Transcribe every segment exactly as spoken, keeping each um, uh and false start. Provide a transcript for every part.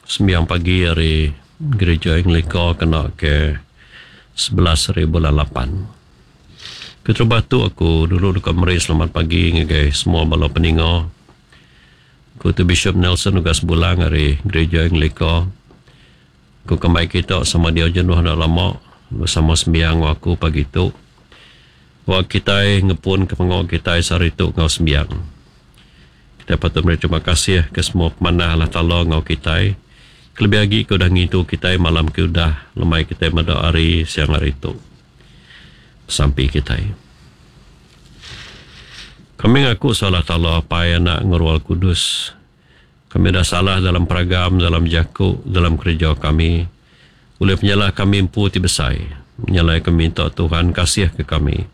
Sembiang pagi ari Gereja Anglika kena ke sebelas hari bulan lapan. Keterubah tu aku dulu deka meri selamat pagi ngagai semua bala peninga. Aku tu Bishop Nelson Ugas Bulang ari Gereja Anglika. Aku kembai kita sama dia jenuh enda lama bersama sembiang enggau aku pagi tu. Wak kitai ngepun ke pengawa kitai sehari tu enggau sembiang. Kita patut meri terima kasih ke semua pemanah Allah Taala enggau kitai. Kelebih agi ke udah ngintu kitai malam ke udah lemai kitai meda hari siang hari tu. Sampi kitai. Kami ngaku salah Taala Apai Anak enggau Roh Kudus. Kami dah salah dalam peragam, dalam jaku, dalam kerja kami. Oleh penyalah kami empu ti besai. Nyalai kami minta Tuhan kasih ke kami.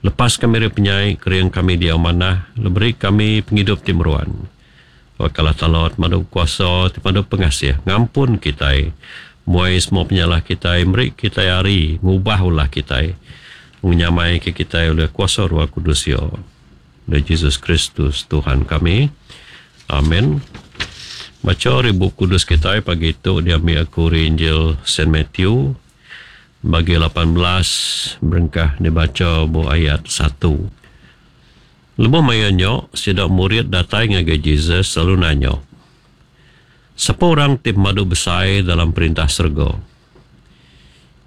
Lepas kami dari penyai, kering kami dia manah, beri kami penghidup ti meruan. Wakalah Taala madu kuasa, ti madu pengasih, ngampun kitai. Muai semua penyalah kitai, beri kitai hari, ngubah ulah kitai. Menyamai ke kitai oleh kuasa Roh Kudus ya. Oleh Jesus Kristus Tuhan kami. Amin. Baca ari Bup Kudus kitai pagi tu diambil aku ari Injil Saint Matthew bagi lapan belas berengkah dibaca bu ayat satu. Lebuh maya nya, sida murid datai ngagai Jesus lalu nanya, Sapa orang ti pemadu besai dalam perintah serega?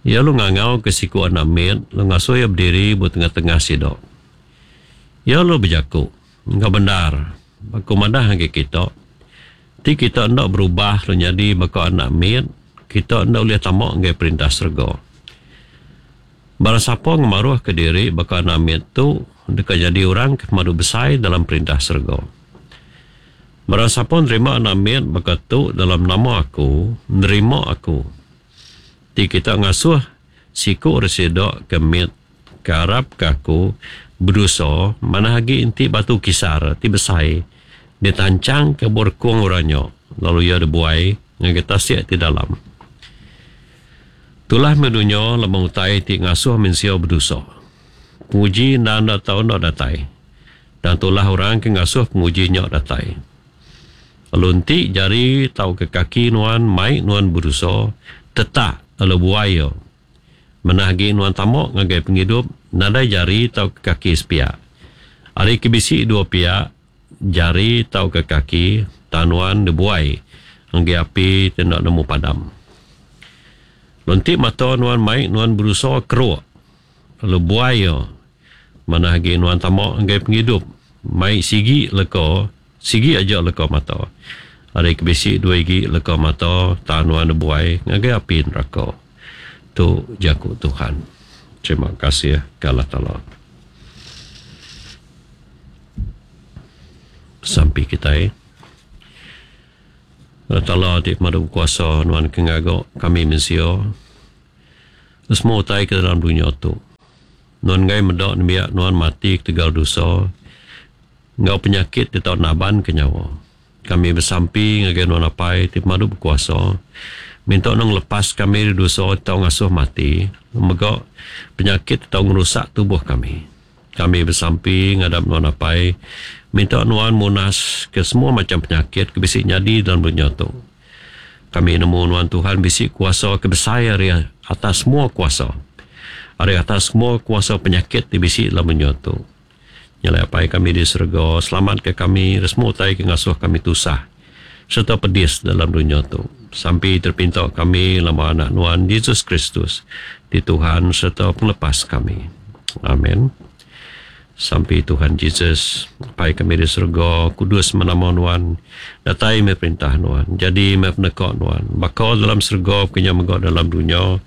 Ia lalu ngangau ke siku anak mit, lalu ngasuh ia berdiri bu tengah-tengah sida. Ia lalu berjaku, Enggau benar, aku madah ngagai kita, ti kita enda berubah lalu nyadi baka anak mit, kita enda boleh tama ngagai perintah serega. Barang sapa ngemaruh ke diri baka anak mit tu, deka jadi orang ke pemadu besai dalam perintah serega. Barang sapa nerima anak mit baka tu dalam nama aku, nerima aku. Ti kita ngasuh siku resida ke mit ke arap ke aku berdosa, manah agi enti batu kisar ti besai ditancang ke berkung orangnya, lalu ia dibuai ngagai tasik ti dalam. Tulah medunya lama utai ti ngasuh mensia berdosa. Penguji enda enda tau enda datai. Dan tulah orang ke ngasuh penguji nya datai. Lalu enti jari tau ke kaki nuan mai nuan berdosa, tetak lalu buai ia. Menah agi nuan tamok ngagai penghidup nadai jari tau ke kaki sepiak. Ari ke bisi dua piak, jari tau ke kaki, tanuan dibuai ngagai api ti enda nemu padam. Lalu enti mata nuan mai nuan berusaha keruk, lalu buai ia. Manah agi nuan tamok ngagai penghidup mai sigi leka, sigi aja leka mata. Ari ke bisi dua igi leka mata, tanuan dibuai ngagai api neraka. Tu jaku Tuhan. Terima kasih ke Allah Taala. Sampi kitai. Allah Taala ti pemadu kuasa nuan ke ngaga kami mensia. Semua utai ke dalam dunia tu. Nuan ngai meda nembiak nuan mati ketegal dosa enggau penyakit ti tau naban ke nyawa. Kami bersampi ngagai nuan Apai ti pemadu berkuasa, minta nuan ngelepas kami dari dosa ti tau ngasuh mati, mega penyakit ti tau ngerusak tubuh kami. Kami bersampi ngadap nuan Apai, minta nuan munas ke semua macam penyakit ke bisi nyadi dalam dunia tu. Kami nemu nuan Tuhan bisi kuasa ke besai ari atas semua kuasa. Ari atas semua kuasa penyakit ti bisi dalam dunia tu. Nyalai Apai kami di serega, selamat ke kami dari semua utai ke ngasuh kami tusah serta pedis dalam dunia tu. Sampai terpinta kami lama anak nuan Jesus Kristus di Tuhan serta penglepas kami. Amin. Sampai Tuhan Jesus, Apai kami di serega, kudus menama nuan, datai me perintah nuan, jadi me peneka nuan, bakal dalam serega, kenya mega dalam dunia,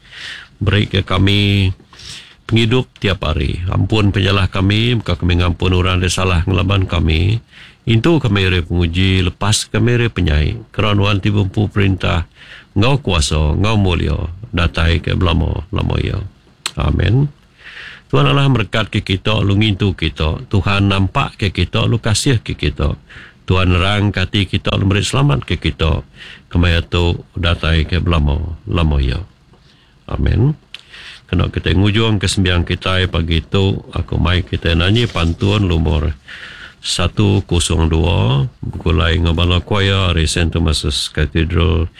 beri ke kami penghidup tiap hari. Ampun penyalah kami, maka kami ngampun orang yang salah ngelaban kami. Intu kami dari penguji, lepas kami dari penyai. Kerana nuan ti bempu perintah, ngau kuasa, ngau mulia, datai ke belama-lama ia. Amin. Tuhan Allah berkat ke kita, lu ngintu kita. Tuhan nampak ke kita, lu kasih ke kita. Tuhan nerang ke hati kita, lu beri selamat ke kita. Kemaya tu datai ke belama-lama ia. Amin. Kena kita ngujung ke sembiang kita pagi tu, aku mai kita nyanyi pantun lumur satu kosong dua begulai enggau bala choir ari Saint Thomas's Cathedral.